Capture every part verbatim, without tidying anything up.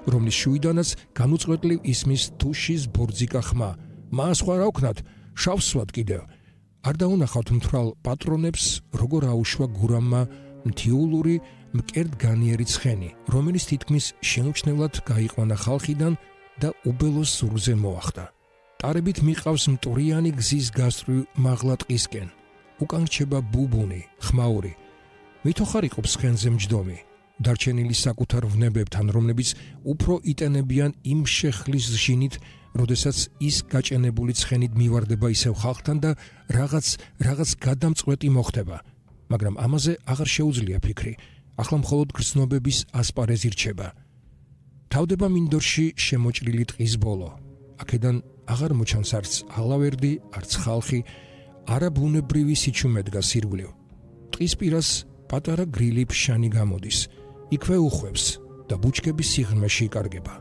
რომლის შუიდანაც განუწყვეტლივ ისმის თუშის ბორძიკა ხმა. მას სხვა რა ვქნათ, შავს ვსვათ კიდევ. არ დაუნახავთ მთვრალ პატრონებს, როგორ აუშვა გურამმა მთიულური მკერდგანიერი ცხენი, რომელიც თითქმის შეუმჩნევლად გაიყვანა ხალხიდან და უბელოს ზურგზე მოახდა. ტარებით მიყავს მტვრიანი გზის გასწვრივ მაღლა ტყისკენ. უკან რჩება ბუბუნი, ხმაური. მითოხარ იყოფს ცხენზე მჯდომი. დარჩენილი საკუთარ ვნებებთან, რომლებიც უფრო იტენებიან იმ შეხლის ჟინით, როდესაც ის გაჭენებული ცხენით მივარდება ისევ ხალხთან და რაღაც რაღაც გადამწყვეტი მოხდება. მაგრამ ამაზე აღარ შეუძლია ფიქრი. ახლა მხოლოდ გრძნობების ასპარეზი რჩება. თავდება მინდორში შემოჭრილი ტყის ბოლო. აქედან აღარ მოჩანს არც ალავერდი, არც ხალხი, არა ბუნებრივი სიჩუმე დგას ირგვლივ. ტყის პირას პატარა გრილი ფშანი გამოდის. იქვე უხვევს და ბუჩქების სიღრმეში იკარგება.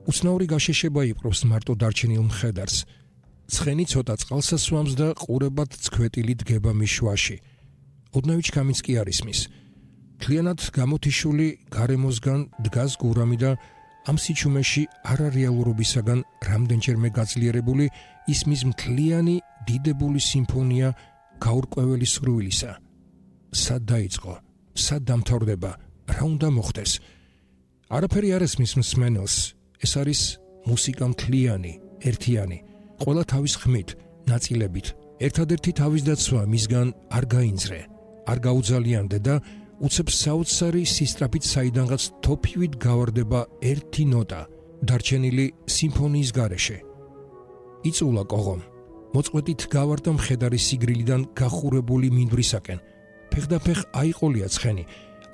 უცნაური გაშეშება იპყრობს მარტო დარჩენილ მხედარს. ცხენი ცოტა წყალს ასვამს და ყურებად ცქვეტილი დგება მის შუაში. ოდნავი ჩქამიც კი არ ისმის. მთლიანად გამოთიშული გარემოსგან დგას გურამი და ამ სიჩუმეში არარეალურობისაგან რამდენჯერმე გაძლიერებული ისმის მთლიანი დიდებული სიმფონია გაურკვეველი სურვილისა. სად დაიწყო, სად დამთავრდება, რა უნდა მოხდეს? არაფერი არ ესმის მსმენელს. ეს არის მუსიკა მთლიანი, ერთიანი, ყველა თავის ხმით, ნაწილებით. ერთადერთი თავის დაცვა მისგან არ გაინძრე, არ გაუძალიანდე და უცებ საოცარი სისტრაფით საიდანღაც თოფივით გავარდება ერთი ნოტა, დარჩენილი სიმფონიის გარეშე. იწულა კოღომ, მოწყვეტით გავარდა მხედარის სიგრილიდან გახურებული მინდვრისაკენ. ფეხდაფეხ აიყოლია ცხენი,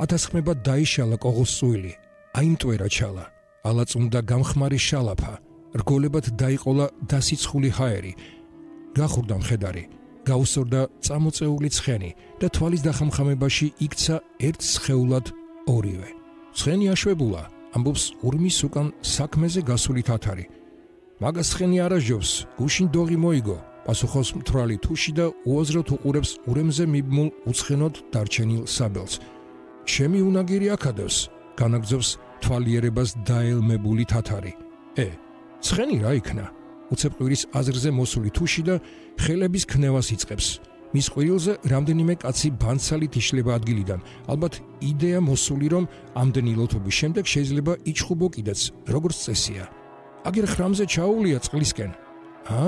ათასხმებად დაიშალა კოღოს სუილი, აიმტვერა ჩალა, ალაწუნდა გამხმარი შალაფა, რგოლებად დაიყოლა დასიცხული ჰაერი. გახურდა მხედარი, გაუსწორდა წამოწეული ცხენი და თვალის დახამხამებაში იქცა ერთ სხეულად ორივე. ცხენი აშვებულა, ამბობს ურმის უკან საქმეზე გასული თათარი. მაგას ცხენი არაჟობს, გუშინ დოღი მოიგო, პასუხობს მთვრალი თუში და უაზროდ უყურებს ურემზე მიბმულ უცხენოდ დარჩენილ საბელს. ჩემი უნაგირი აქადევს, განაგძობს თვალიერებას დაელმებული თათარი. ე, ცხენი რა იქნა? უცებ ყვირის აზრზე მოსული თუში და ხელების ქნევას იწყებს. მის ყვირილზე რამდენიმე კაცი ბანცალით იშლება ადგილიდან. ალბათ იდეა მოსული, რომ ამდენი ლოთობის შემდეგ შეიძლება იჩხუბო კიდეც, როგორც წესია. აგერ ხრამზე ჩაუვლია წყლისკენ. ჰა?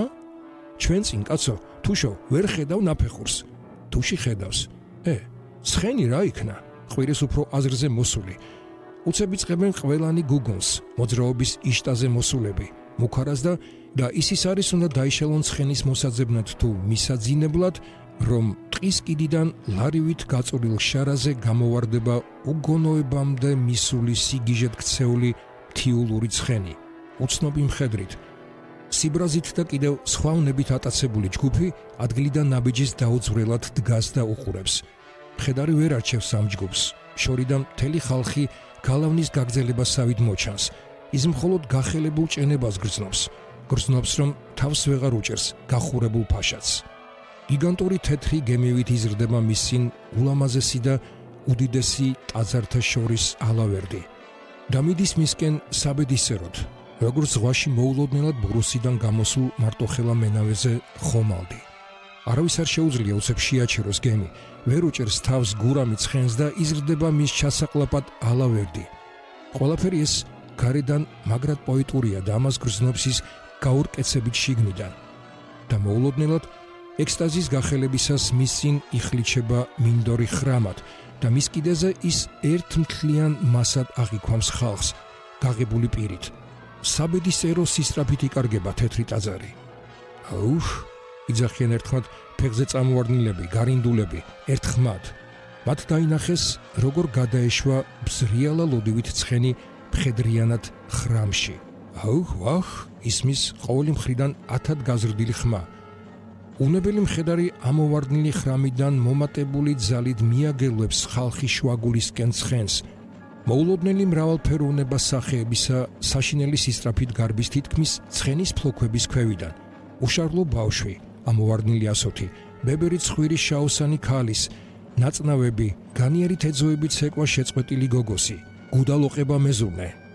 ჩვენ წინ კაცო, თუშო, ვერ ხედავ ნაფეხურს. თუში ხედავს. ე, ცხენი რა იქნა? ყვირის უფრო აზრზე მოსული. უცებ იწყებენ ყველანი გუგონს, მოძრაობის იშტაზე მოსულები. მუქარას და და ისის არის უნდა დაიშალონ ცხენის მოსაძებნად თუ მისაძინებლად, რომ ტყის კიდიდან ლარივით გაწურილ შარაზე გამოვარდება უგონოებამდე მისული სიგიჟეთ ქცეული მთიულური ცხენი, უცნობი მხედრით. სიბრაზით და კიდევ სხვა უნებით ატაცებული ჯგუფი ადგილიდან ნაბიჯის დაუძვრელად დგას და უყურებს. მხედარი ვერ არჩევს ამ ჯგუფს, შორიდან მთელი ხალხი გალავნის გაგრძელებასავით მოჩანს. ის მხოლოდ გახელებულ ჭენებას გრძნობს. გრძნობს, რომ თავს ვეღარ უჭერს გახურებულ ფაშაც. გიგანტური თეთრი გემივით იზრდება მის წინ ულამაზესი და უდიდესი ტაძართა შორის ალავერდი. დამიდის მისკენ საბედისეროდ, როგორც ზღვაში მოულოდნელად ბურუსიდან გამოსულ მარტოხელა მენავეზე ხომალდი. არავის არ შეუძლია უცებ შეაჩეროს გემი, ვერ უჭერს თავს გურამი ცხენს და იზრდება მის ჩასაყლაპად ალავერდი. ყველაფერი ეს გარედან მაგრად პოეტურია და ამას გრძნობს ის გაურკეცებით შიგნიდან. და მოულოდნელად ექსტაზის გახელებისას მის წინ იხლიჩება მინდორი ხრამად და მის კიდეზე ის ერთ მთლიან მასად აღიქვამს ხალხს, გაღებული პირით. საბედისწერო სისტრაფით იკარგება თეთრი ტაძარი. აუხ, იძახიან ერთხმად ფეხზე წამოვარდნილები, გარინდულები, ერთხმად. მათ დაინახეს, როგორ გადაეშვა ბზრიალა ლოდივით ცხენი მხედრიანად ხრამში. აუხ, ვახ, ისმის ყოველი მხრიდან ათად გაზრდილი ხმა. უნებელი მხედარი ამოვარდნილი ხრამიდან მომატებული ძალით მიაგელვებს ხალხის შუაგულისკენ ცხენს. მოულოდნელი მრავალფეროვნება სახეებისა საშინელი სისტრაფით გარბის თითქმის ცხენის ფლოქვების ქვევიდან. უშარლო ბავშვი, ამოვარდნილი ასოთი, ბებერი ცხვირის შაოსანი ქალის, ნაწნავები, განიერი თეძოებით ცეკვა შეწყვეტილი გოგოსი, გუდალოყება მეზურნე.